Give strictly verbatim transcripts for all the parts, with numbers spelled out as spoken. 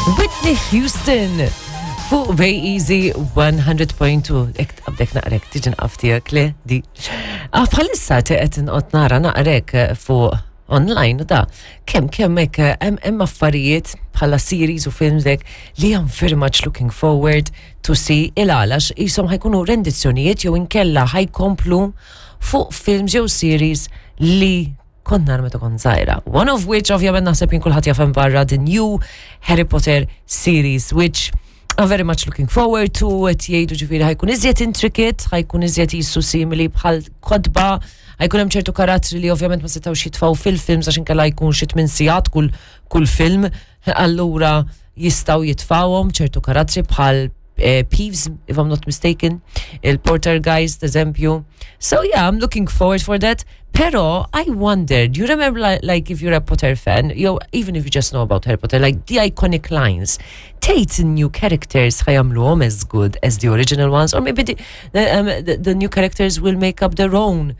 Whitney Houston fuq Bay Easy one hundred point two. Ek għabdek naqrek, tiġi nqaftijak le di. Ah, bħalissa qed inqgħod nara naqrek fuq online u da. Kemm kemm hekk hemm hemm affarijiet bħala series u films hekk li I'm very much looking forward to see, il-għalax jisom ħa jkunu rendizzjonijiet jew inkella ħa jkomplu fuq films jew series li kont nara meta kont żgħira. One of which, ovvjament, naħseb jien kulħadd jaf hemm barra, the new Harry Potter series, which I'm very much looking forward to. Qed jgħidu ġifieri ħa jkun iżjed intricate, ħa jkun iżjed jisu simili bħal kotba, ħa jkun hemm ċertu karattri li ovvjament ma setgħux jitfgħu fil-films għax inkella jkun xi tmien sigħat kull kull film, allura jistgħu jitfgħuhom ċertu karattri bħal eh, Peeves, if I'm not mistaken, il-Poltergeist, eżempju. So yeah, I'm looking forward for that. Pero I wonder, do you remember like, like if you're a Potter fan, you know, even if you just know about Harry Potter, like the iconic lines, tgħid new characters ħa jagħmluhom as good as the original ones, or maybe the, the, um, the, the new characters will make up their own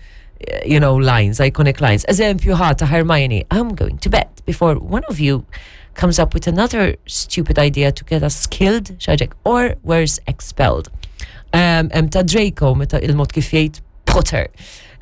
uh, you know, lines, iconic lines. Eżempju ħa ta' Hermione, "I'm going to bed before one of you comes up with another stupid idea to get us killed," xaġek, or worse, expelled. Um, um, ta' Draco, meta il-mod kif jgħid "Potter."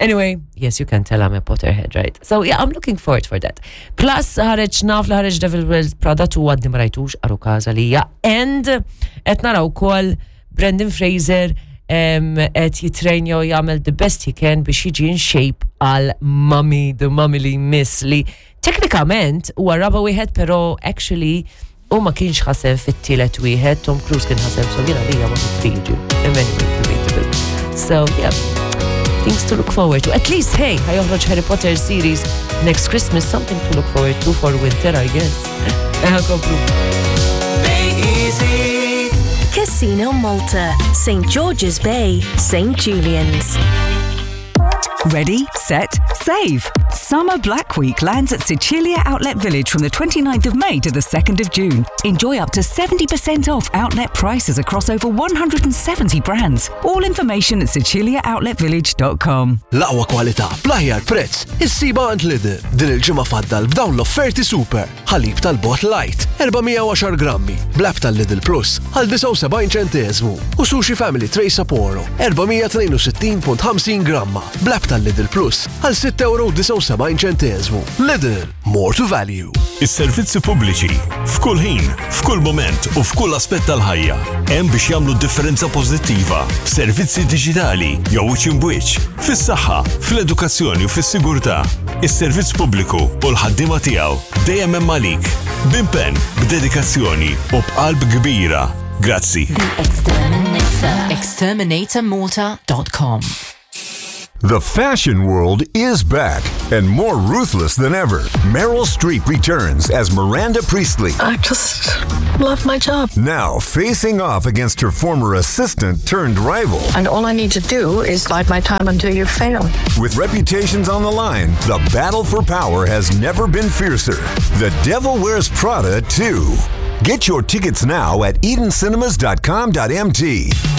Anyway, yes, you can tell I'm a Potterhead, right? So yeah, I'm looking forward for that. Plus, ħareġ naf li ħareġ Devil Wears Prada two, għadni ma rajtux, għaru kaza lija. And qed naraw ukoll Brendan Fraser qed jitrejnja u jagħmel the best he can biex jiġi in shape għal Mummy, the Mummy li miss, li teknikament huwa raba wieħed, pero actually u ma kienx ħaseb fit-tielet wieħed, Tom Cruise kien ħaseb, so jiena lija ma triġi. Anyway, debatable. So yeah, things to look forward to. At least, hey, ħa joħroġ Harry Potter series next Christmas, something to look forward to for winter, I guess. Eħa komplu. Casino Malta, Saint George's Bay, Saint Julian's. Ready, set, save. Summer Black Week lands at Sicilia Outlet Village from the twenty-ninth of May to the second of June. Enjoy up to seventy percent off outlet prices across over one hundred seventy brands. All information at siciliaoutletvillage dot com. L-aqwa kwalità, bl-aħjar prezz, issibha għand Lidl. Din il-ġimgħa faddal b'dawn l-offerti super. Ħalib tal-bot light, erba' mija u għaxar grammi, bl-app tal-Lidl Plus għal disgħa u sebgħin ċentesmu. U Sushi Family Tray Sapporo, erba' mija tnejn u sittin punt ħamsin gramma, bl-app tal-Lidl Plus għal sitta euro u disgħa u sebgħin ċentesmu. Lidl, more to value. Is-servizzi pubbliċi, f'kull ħin, f'kull moment u f'kull aspett tal-ħajja, hemm biex jagħmlu differenza pożittiva f'servizzi diġitali jew wiċċ imbwiċċ, fis-saħħa, fl-edukazzjoni u fis-sigurtà. Is-servizz pubbliku u l-ħaddiema tiegħu dejjem hemm għalik, b'impenn, b'dedikazzjoni u b'qalb kbira. Grazzi. Exterminator. Exterminator Malta dot com. The fashion world is back and more ruthless than ever. Meryl Streep returns as Miranda Priestley. I just love my job. Now facing off against her former assistant turned rival. And all I need to do is bide my time until you fail. With reputations on the line, the battle for power has never been fiercer. The Devil Wears Prada two. Get your tickets now at edencinemas dot com dot M T.